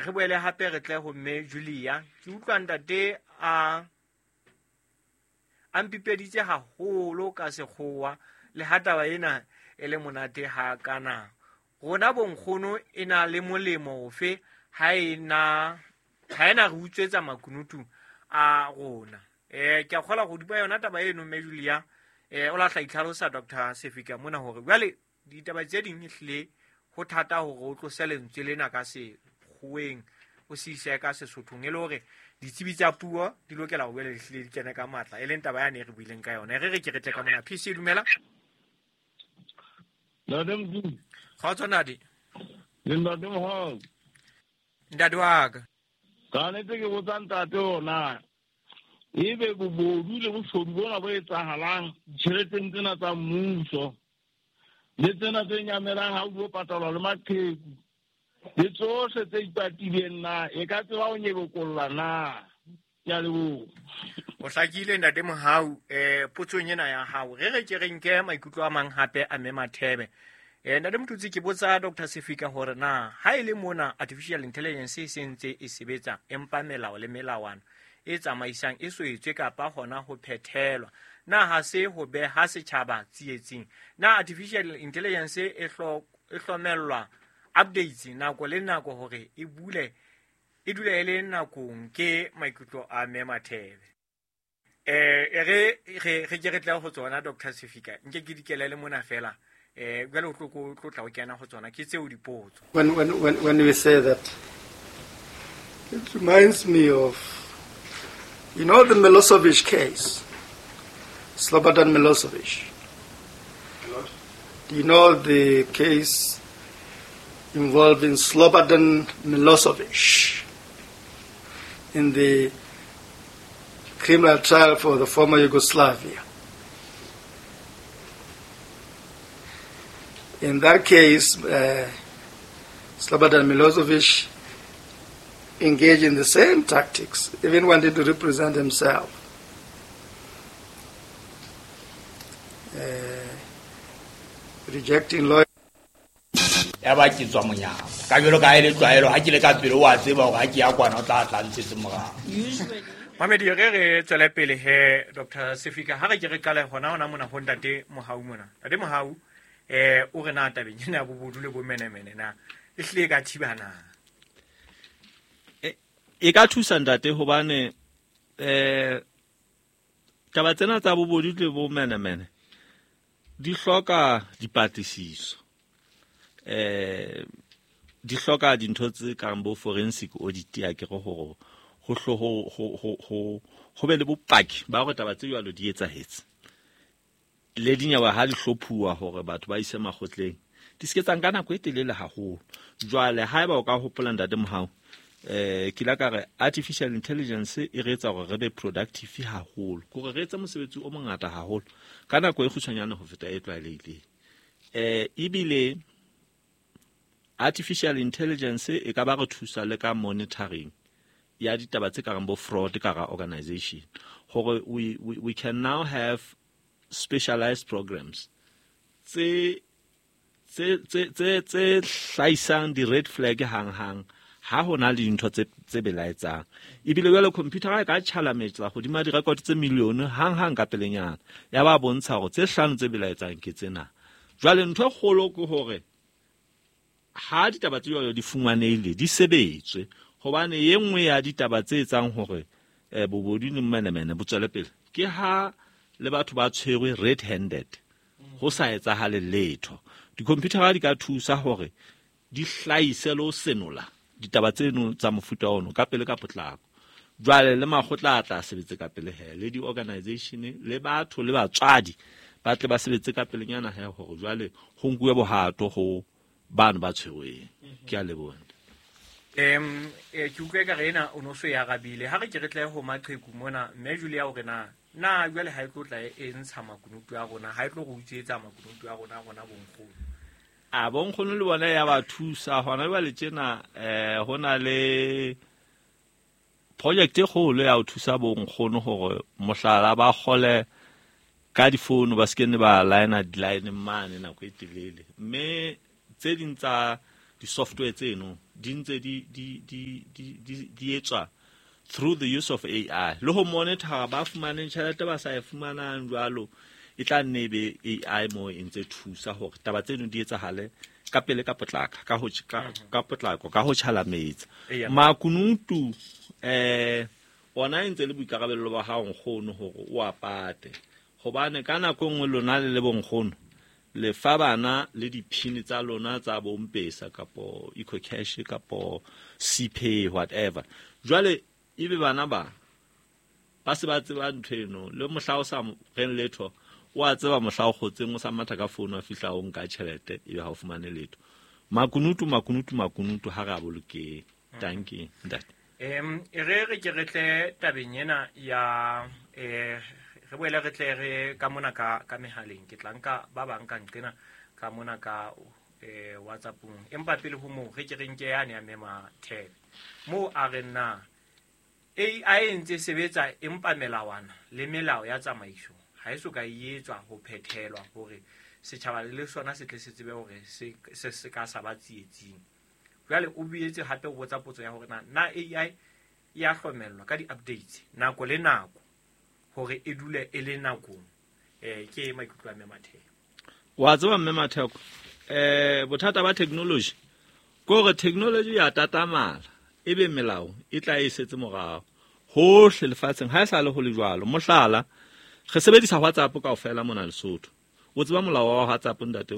Re boele hape re tle ho mme Julia. Ke utlwa ntate a mpipeditse haholo ka sekgowa le ha taba ena e le monate ha kana. Rona bonkgono e na le molemo ofe ha e na re utswetsa makunutu a rona. Ke a kgola go dupa yona taba eno mme Julia. O lahla itlhalosa Dr. Sefika mona hore jwale ditaba tse ding ehlile ho thata hore o tlose lentswe lena ka sekgoweng o se ise ka Sesothong, e le hore ditsebi tsa puo di lokela ho boela di hlile di kene ka matla, e leng taba yane e re buileng ka yona. Re ke re tle ka mona. PC dumela. Ntate Mdu. Kgotso ntate. Le ntate Mohau. Ntate wa ka. Ka nnete ke botsa ntate ona. Ebe bobodu le boshodu bona bo etsahalang ditjheleteng tsena tsa mmuso le tsena tse nyamelang ha o dio patalwa le maqheku le tsohle tse ipatileng na e ka tseba ho nyebokolla na? Ke a leboha. O hlakile ntate Mohau potsong ena ya hao. Re ke re nke maikutlo a mang hape a mme Mathebe. Ntate Motutsi, ke botsa Dr. Sefika hore na ha e le mona artificial intelligence e sentse e sebetsa empa melao le melawana e tsamaisang e so etswe kapa hona ho phethelwa, na ha se ho beha setjhaba tsietsing? Na artificial intelligence e hlomellwa updates nako le nako hore e bule e dule e le nakong? Ke maikutlo a mme Mathebe. Re ke re tle ho tsona Dr. Sefika, nke ke dikelele mona fela. Jwale o tlo tla o kena ho tsona ke tseo dipotso. When we say that, it reminds me of, you know, the Milosevic case, Slobodan Milosevic. Do you know the case involving Slobodan Milosevic in the criminal trial for the former Yugoslavia? In that case, Slobodan Milosevic engaged in the same tactics, even wanted to represent himself. Rejecting law. Ya ba ke tswa monyako. Ka jwalo ka e le tlwaelo, ha ke le ka pele wa tseba hore ha ke ya kwana o tla tla ntshetse morao. Mamedi, re tswele pele he Dr. Sefika, ha re ke re qale hona mona ho ntate Mohau mona. Ntate Mohau, o re na tabeng ena ya bobodu le bomenemene na e hlile e ka thiba na? E ka thusa ntate, hobane taba tsena tsa bobodu le bomenemene di hloka dipatlisiso. Di hloka dintho tse kang bo forensic audit ya ke re hore ho be le bopaki ba hore taba tse jwalo di etsahetse. Le dinyewe ha di hlophuwa hore batho ba ise makgotleng, di se ke tsa nka nako e telele haholo. Jwale haeba o ka hopola ntate Mohau, ke la ka re artificial intelligence e re etsa hore re be productive haholo, hore re etse mosebetsi o mongata haholo ka nako e kgutshwanyane ho feta e tlwaelehileng. Ebile artificial intelligence e ka ba re thusa le ka monitoring ya ditaba tse kareng bo fraud ka hara organization, hore we can now have specialized programs tse hlahisang di-red flag hang-hang ha ho na le dintho tse belaetsang. Ebile jwale computer e ka tjhalametsa hodima di-record tse million hang-hang ka pelenyana, ya ba bontsha hore tse hlano tse belaetsang ke tsena. Jwale ntho e kgolo ke hore ha ditaba tse jwalo di fumanehile, di sebetswe, hobane e nngwe ya ditaba tse etsang hore bobodu le menemene bo tswele pele ke ha le batho ba tshwerwe red-handed, ho sa etsahale letho. Di-computer di ka thusa hore di hlahise le ho senola ditaba tseno tsa mofuta ono ka pele ka potlako. Jwale le makgotla a tla sebetse ka pele he, le di-organization le batho le batswadi ba tle ba sebetse ka pelenyana he, hore jwale ho nkuwe bohato ho bano ba tshwerweng. Ke a leboha. Ke utlwe ka re ena o no so e arabile. Ha re ke re tle ho maqheku mona, mme Julia o re na jwale ha e tlo tla e ntsha makunutu a rona, ha e tlo re utswetsa makunutu a rona bonkgono. A bonkgono le bona ya ba thusa hona jwale tjena. Ho na le project e kgolo ya ho thusa bonkgono hore mohlala ba kgole ka difounu, ba se ke ne ba line di-line mane nako e telele. Mme tse ding tsa di-software tseno di ntse di etswa through the use of AI. Le ho monitor ba fumaneng tjhelete ba sa e fumanang jwalo, e tla nne e be AI mo e ntse thusa hore taba tseno di etsahale ka pele ka potlaka ka ho ka potlako ka ho tjhalametsa. Makunutu ona e ntse le boikarabello ba hao nkgono hore o a pate. Hobane ka nako e nngwe lona le le bonkgono le fa bana le diphini tsa lona tsa bompesa kapo EcoCash kapo CPay whatever. Jwale ebe bana ba se ba tseba ntho eno, le mohla o sa reng letho o a tseba mohla o kgotseng o sa matha ka founu a fihla o nka tjhelete ebe ha o fumane letho. Makunutu makunutu makunutu ha re a bolokeng. Dankie ntate. Re re ke re tle tabeng ena ya re boele re tle re ka mona ka mehaleng. Ke tla nka ba bang ka nqena ka mona ka WhatsAppong, empa pele ho moo re ke re nke yane ya Mema Thebe moo a re na AI e ntse sebetsa empa melawana le melao ya tsamaiso ha e so ka e etswa ho phethelwa hore setjhaba le sona se tle se tsebe hore se ka sa ba tsietsing. Jwale o boetse hape o botsa potso ya hore na AI e a hlomellwa ka di-updates nako le nako hore e dule e le nakong. Ke maikutlo a Mme Matheko. Wa tseba Mme Matheko, bothata ba technology ke hore technology ya tatamala ebe melao e tla e setse morao hohle lefatsheng. Ha e sa le ho le jwalo. Mohlala, re sebedisa WhatsApp kaofela mona Lesotho. O tseba molao wa WhatsApp ntate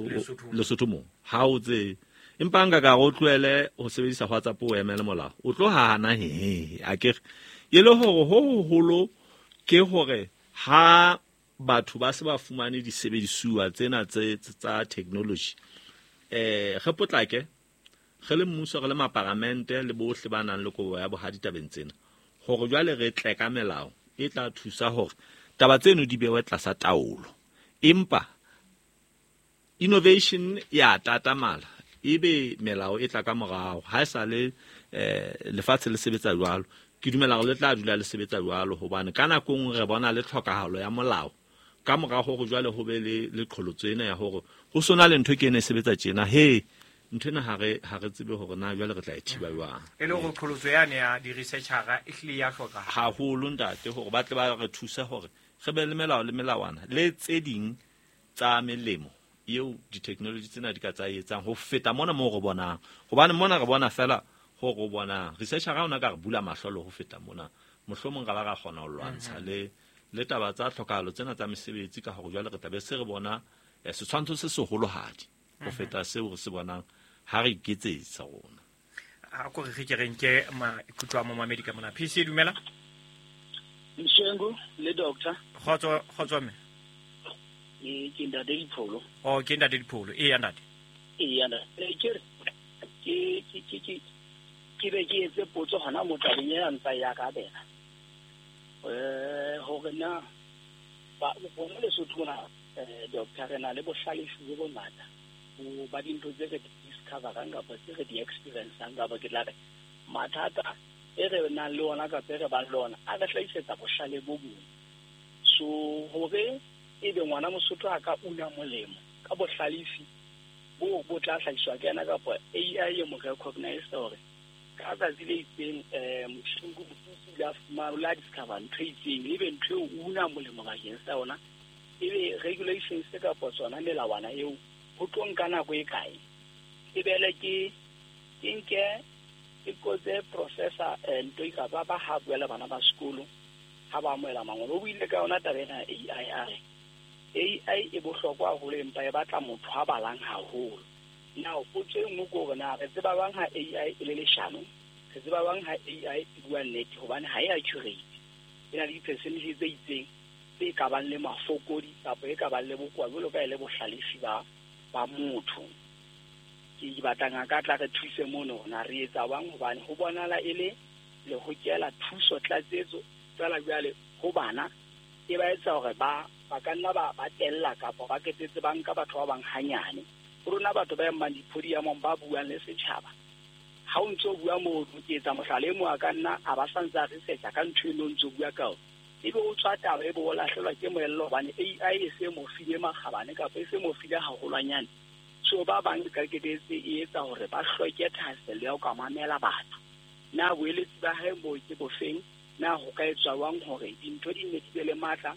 Lesotho mo? Ha o tsebe. Empa nka ka re o tlohele ho sebedisa WhatsApp o emele molao, o tlo hana he akere. E le hore ho hoholo ke hore ha batho ba se ba fumane disebedisuwa tsena tsa technology, re potlake re le mmuso, re le maparamente le bohle ba nang le kobo ya bohadi tabeng tsena, hore jwale re tle ka melao e tla thusa hore taba tseno di bewe tlasa taolo. Empa innovation ya tatamala ebe melao e tla ka morao. Ha e sa le lefatshe le sebetsa jwalo, ke dumela hore le tla dula le sebetsa jwalo, hobane ka nako nngwe re bona le tlhokahalo ya molao ka mora hore jwale ho be le qholotso ena ya hore ho sona le ntho ke ene e sebetsa tjena. He ntho ena ha re tsebe hore na jwale re tla e thiba jwang. E le hore qholotso yane ya di-researchera e hlile ya hlokahala haholo ntate, hore ba tle ba re thuse hore re be le melao le melawana le tse ding tsa melemo eo di-technology tsena di ka tsa etsang ho feta mona moo re bonang. Hobane mona re bona fela ho re bonang. Researcher ona ka re bula mahlo le ho feta mona, mohlomong ra ba ra kgona ho lwantsha le taba tsa tlhokahalo tsena tsa mesebetsi, ka hore jwale re tla be se re bona setshwantsho se seholohadi ho feta seo re se bonang ha re iketsetsa rona. A ko re ke re nke maikutlo a momamedi ka mona. PC dumela. Mshengu le doctor. Kgotso mme. Ke ntate Dipholo. Oh, ke ntate Dipholo. E ya ntate. E ya ntate. Ke be ke etse potso hona mo tabeng ya ntsa ya ka bela. Hore na ba bona Lesotho mona doctor re na le bohlalefi bo bongata bo ba dintho tse re discoverang kapa tse re di experiencang, kapa ke tla re mathata e re nang le ona kapa e re bang le ona a re hlahisetsa bohlale bo bong. So hore ebe ngwana Mosotho a ka una molemo ka bohlalefi bo bo tla hlahiswa ke yena kapa AI e mo recognize hore ka tsatsi le itseng Moshingu o ile a fumana, o la discover ntho e itseng, ebe ntho eo o una molemo bakeng sa yona, ebe regulations kapa tsona melawana eo ho tlo nka nako e kae. E bele ke nke ke kotse professor ntho e ka ba ha bua le bana ba sekolo ha ba amohela mangolo. O buile ka yona taba ena AI, a re AI e bohlokwa haholo empa e batla motho a balang haholo. Now potso e nngwe ke hore na re tseba bang ha AI e le leshano, re tseba bang ha AI e bua nnete, hobane ha e accurate, e na le di-percentage tse itseng tse ka bang le mafokodi kapa e ka bang le bokowa jwalo ka e le bohlalefi ba motho. Ke batla ngaka tla re thuse mono na re etsa bang, hobane ho bonahala e le le hokela thuso tlatsetso fela jwale ho bana e ba etsa hore ba ka nna ba tella kapa ba ketetse ba nka batho ba bang hanyane. Ho rona batho ba emang dipodiumong ba buang le setjhaba, ha o ntso bua moo ke etsa mohlala e mong a ka nna a ba sa ntse a researcha ka ntho eno o ntso bua ka yona, ebe o tswa taba ebe o lahlelwa ke moelelo hobane AI e se mo file makgabane kapa e se mo file haholwanyane. So ba bang ka ketetse e etsa hore ba hloke thahasello ya ho ka mamela batho. Na boeletsi ba hae bo ke bofeng? Na ho ka etswa jwang hore dintho di nne di be le matla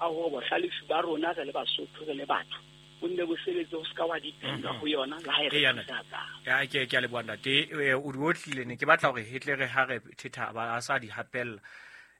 a hore bohlalefi ba rona re le Basotho re le batho bo nne bo sebetse ho ska wa dependa ho yona le ha e re thusa? Ya, ke a leboha ntate. O di otlile, ne ke batla hore hetle re ha re thetha ba a sa di hapella.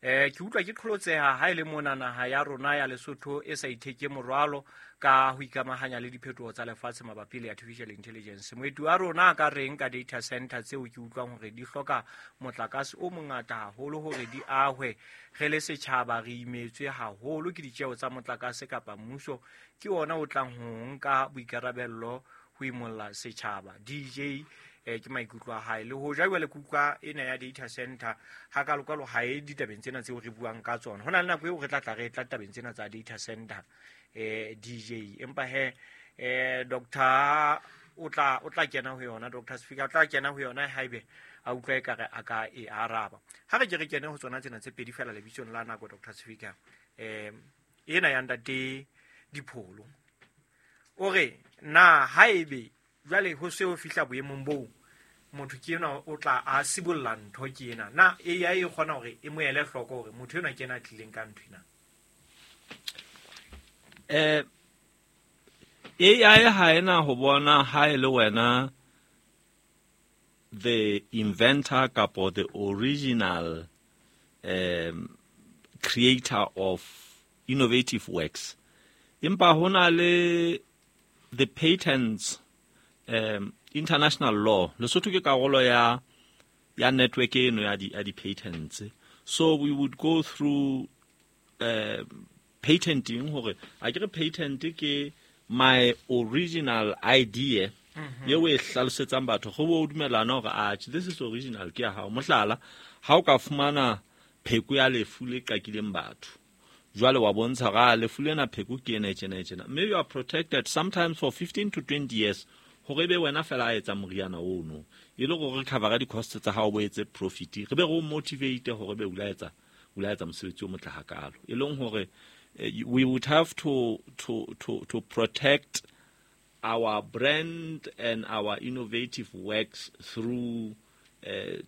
Ke utlwa ke qholotseha ha e le mona naha ya rona ya Lesotho e sa itheke morwalo ka ho ikamahanya le diphetoho tsa lefatshe mabapi le artificial intelligence. Moeti wa rona a ka reng ka data center tseo ke utlwang hore di hloka motlakase o mongata haholo hore di ahwe? Re le setjhaba re imetswe haholo ke ditjeho tsa motlakase, kapa mmuso ke ona o tlang ho nka boikarabello ho imolla setjhaba? DJ ke maikutlo a hae. Le hoja jwale ke utlwa ena ya data center ha kalokalo ha e ditabeng tsena tseo re buang ka tsona. Ho na le nako eo re tla tla re tla tabeng tsena tsa data center, DJ, empa he doctor o tla kena ho yona, Dr. Sefika o tla kena ho yona haebe a utlwa ekare a ka e araba. Ha re ke re kene ho tsona tsena tse pedi fela lebitsong la nako, Dr. Sefika. Ena ya ntate Dipholo o re na haebe jwale ho se ho fihla boemong boo motho ke enwa o tla a sibolla ntho ke ena, na AI e kgona hore e mo ele hloko hore motho enwa ke ena a tlileng ka ntho ena? AI ha ena ho bona ha e le wena the inventor kapo the original creator of innovative works, empa ho na le the patents, international law. Lesotho ke karolo ya network eno ya di patents, so we would go through patenting hore a ke re patent ke my original idea eo e hlalosetsang batho go bo o dumellana hore atjhe, this is original, ke ya hao. Mohlala, ha o ka fumana pheko ya lefu le qakileng batho, jwale wa bontsha hore a lefu lena pheko ke ena e tjena e tjena, mme you are protected sometimes for 15 to 20 years hore ebe wena fela a etsa moriana ono, e le gore re covera di-cost tsa hao, bo etse profit, re be re o motivate hore be o la etsa mosebetsi o motle hakalo. E leng hore we would have to protect our brand and our innovative works through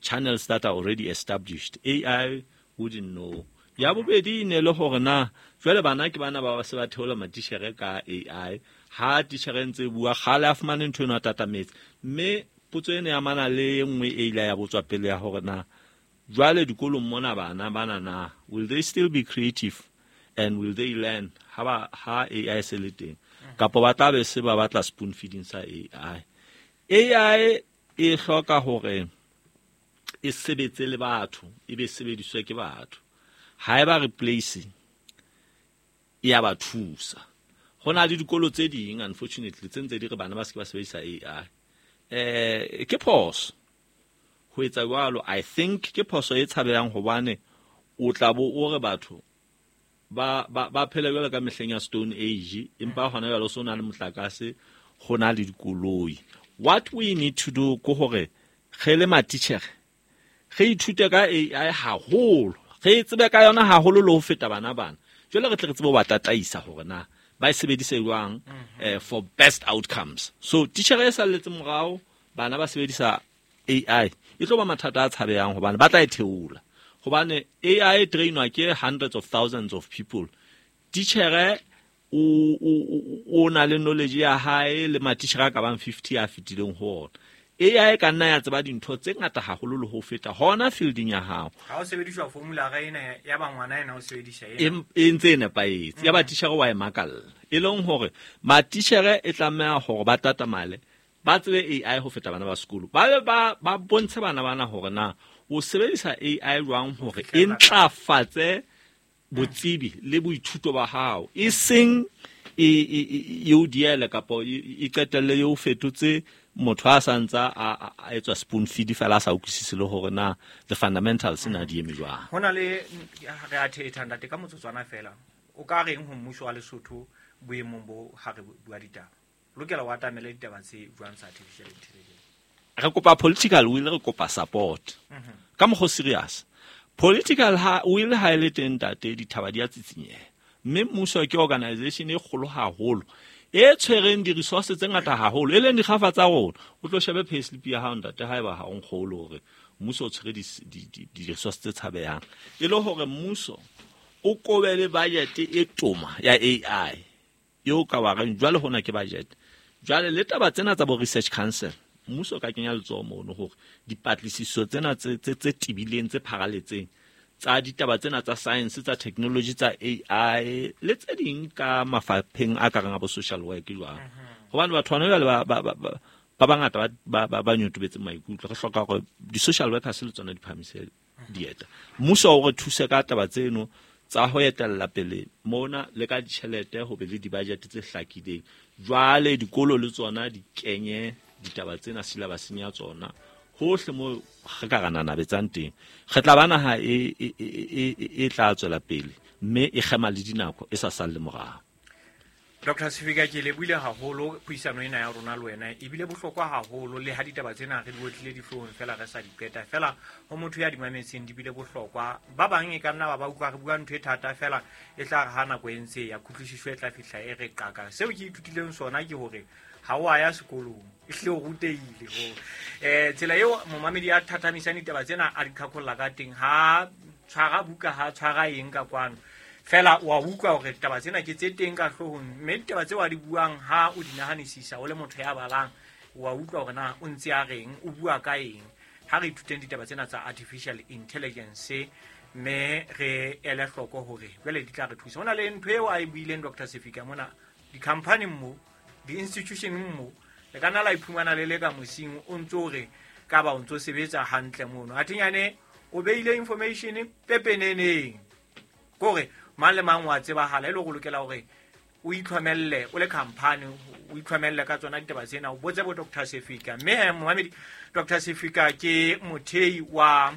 channels that are already established. AI wouldn't know. Ya bobedi e ne le hore na jwale bana ke bana ba se ba theola matitjhere ka AI, ha titjhere ntse e bua kgale a fumane ntho eno a tatametse. Mme potso ena ya amana le e nngwe e ile ya botswa pele ya hore na jwale dikolong mona bana bana na will they still be creative and will they learn ha ba ha AI se le teng, kapa ba tla be se ba batla spoon feeding sa AI? AI e hloka hore e sebetse le batho, e be sebediswe ke batho. Ha e ba replace, e ya ba thusa. Ho na le dikolo tse ding, unfortunately, tse ntse di re bana ba se ke ba sebedisa AI. Ke phoso ho etsa jwalo. I think ke phoso e tshabehang, hobane o tla bo o re batho ba phela jwalo ka mehleng ya Stone Age, empa hona jwale o so na le motlakase, ho na le dikoloi. What we need to do ke hore re le matitjhere re ithute ka AI haholo, re tsebe ka yona haholo le ho feta bana. Jwale re tle re tsebe ho ba tataisa hore na ba e sebedise jwang for best outcomes. So titjhere e salletse morao bana ba sebedisa AI, e tlo ba mathata a tshabehang, hobane ba tla e theola, hobane AI e trainwa ke hundreds of thousands of people. Titjhere o na le knowledge ya hae le matitjhere a ka bang 50 a fetileng ho ona. AI ka nna ya tseba dintho tse ngata haholo le ho feta hona fielding ya hao. Ha o sebediswa formula ga ena ya ba ngwana ena o sebedisa ena. E ntse e nepahetse ya ba titjhere wa e makalla. E leng hore matitjhere e tlameha hore ba tatamale, ba tsebe AI ho feta bana ba sekolo, ba be ba bontshe bana bana hore na o sebedisa AI jwang hore e ntlafatse botsebi le boithuto ba hao, e seng e o diele kapa e qetelle e o fetotse motho a sa ntsa a etswa spoon feed fela, a sa utlwisise le hore na the fundamentals na di eme jwang. Ho na le re a thetha ntate ka motsotswana fela, o ka reng ho mmuso wa Lesotho boemong bo ha re bua ditaba, lokela o atamele ditaba tse jwang tsa artificial intelligence? Re kopa political will, re kopa support ka mokgwa o serious. Political ha will ha e le teng, ntate, dithaba di a tsitsinyeha, mme mmuso ke organization e kgolo haholo. E tshwereng di-resource tse ngata haholo, e leng dikgafa tsa rona. O tlo shebe payslip ya hao ntate, haeba ha o nkgolo hore mmuso o tshwere di-resource tse tshabehang. E le hore mmuso o kobe le budget e toma ya AI eo ka wa reng jwale hona ke budget. Jwale le taba tsena tsa bo research council, mmuso o ka kenya letsoho mono hore dipatlisiso tsena tse tebileng, tse pharaletseng tsa ditaba tsena tsa science, tsa technology, tsa AI le tse ding ka mafapheng a kareng a bo social work jwang. Hobane batho bana jwale ba bangata ba nyotobetse maikutlo. Re hloka hore di-social workers le tsona di phahamise dieta. Mmuso o re thuse ka taba tseno tsa ho etella pele mona le ka ditjhelete, ho be le di-budget tse hlakileng. Jwale dikolo le tsona di kenye ditaba tsena syllabuseng ya tsona hohle mo re ka ra nanabetsang teng. Re tla ba naha e tla tswela pele mme e kgema le dinako e sa salle morao. Dr. Sefika, ke lebohile haholo puisano ena ya rona le wena, ebile bohlokwa haholo le ha ditaba tsena re di otlile dihloohong fela re sa di qeta. Fela ho motho ya di mametseng di bile bohlokwa. Ba bang e ka nna ba utlwa re bua ntho e thata fela e tla re ha nako e ntse ya kutlwisiso e tla fihla e re qaka. Seo ke ithutileng sona ke hore ha o a ya sekolong, ehlile o rutehile ho tsela eo momamedi a thathamisang ditaba tsena a di qhaqholla ka teng, ha tshwara buka, ha tshwara eng ka kwano. Fela wa utlwa hore taba tsena ke tse teng ka hloohong, mme ditaba tseo a di buang ha o di nahanisisa o le motho ya balang, wa utlwa hore na o ntse a reng, o bua ka eng. Ha re ithuteng ditaba tsena tsa artificial intelligence mme re ele hloko hore jwale di tla re thusa. Ho na le ntho eo a e buileng Dr. Sefika mona, di-company mo, di-institution mo, le ka nna la iphumana le le ka mosing o ntso re ka ba o ntso sebetsa hantle mono. Athinyane o beile information pepeneneng kore mang le mang wa tsebahala, e le go lokela hore o itlhomelle o le company, o itlhomelle ka tsona ditaba tsena, o botse bo Dr. Sefika. Mme momamedi, Dr. Sefika ke mothei wa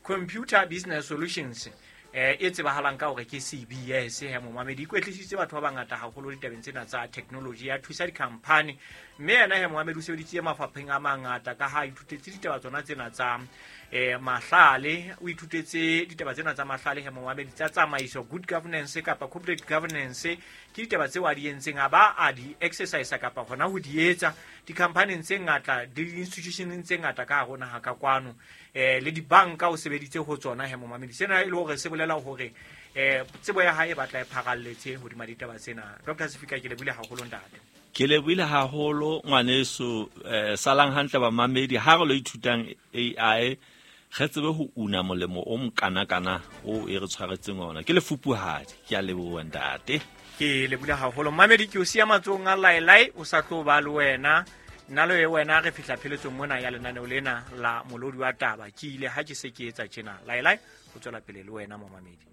Computer Business Solutions e tsebahalang ka hore ke CBS. He momamedi, ikwetlisitse batho ba bangata haholo ditabeng tsena tsa technology, ya thusa di-company. Mme yena he momamedi o sebeditse mafapheng a mangata ka ha ithutetse ditaba tsona tsena tsa mahlale, o ithutetse ditaba tsena tsa mahlale he momamedi, tsa tsamaiso, good governance kapa corporate governance, ke ditaba tseo a di entseng, a ba a di exercise kapa hona ho di etsa di-company tse ngata, di-institution tse ngata ka hare ho naha ka kwano, le dibanka o sebeditse ho tsona he momamedi. Sena e le hore se bolela hore tsebo ya hae e batla e pharalletse hodima ditaba tsena. Dr. Sefika, ke lebohile haholo ntate. Ke lebohile haholo ngwaneso. Salang hantle bamamedi, ha re lo ithutang AI re tsebe ho una molemo o mokanakana o e re tshwaretseng ona. Ke lefupuhadi, ke a leboha ntate. Ke lebohile haholo mamedi, ke o siya matsohong a Laelai, o sa tlo ba le wena. Nna le wena re fihla pheletsong mona ya lenaneo lena la Molodi wa Taba. Ke ile ha ke se ke etsa tjena. Laelai o tswela pele le wena momamedi.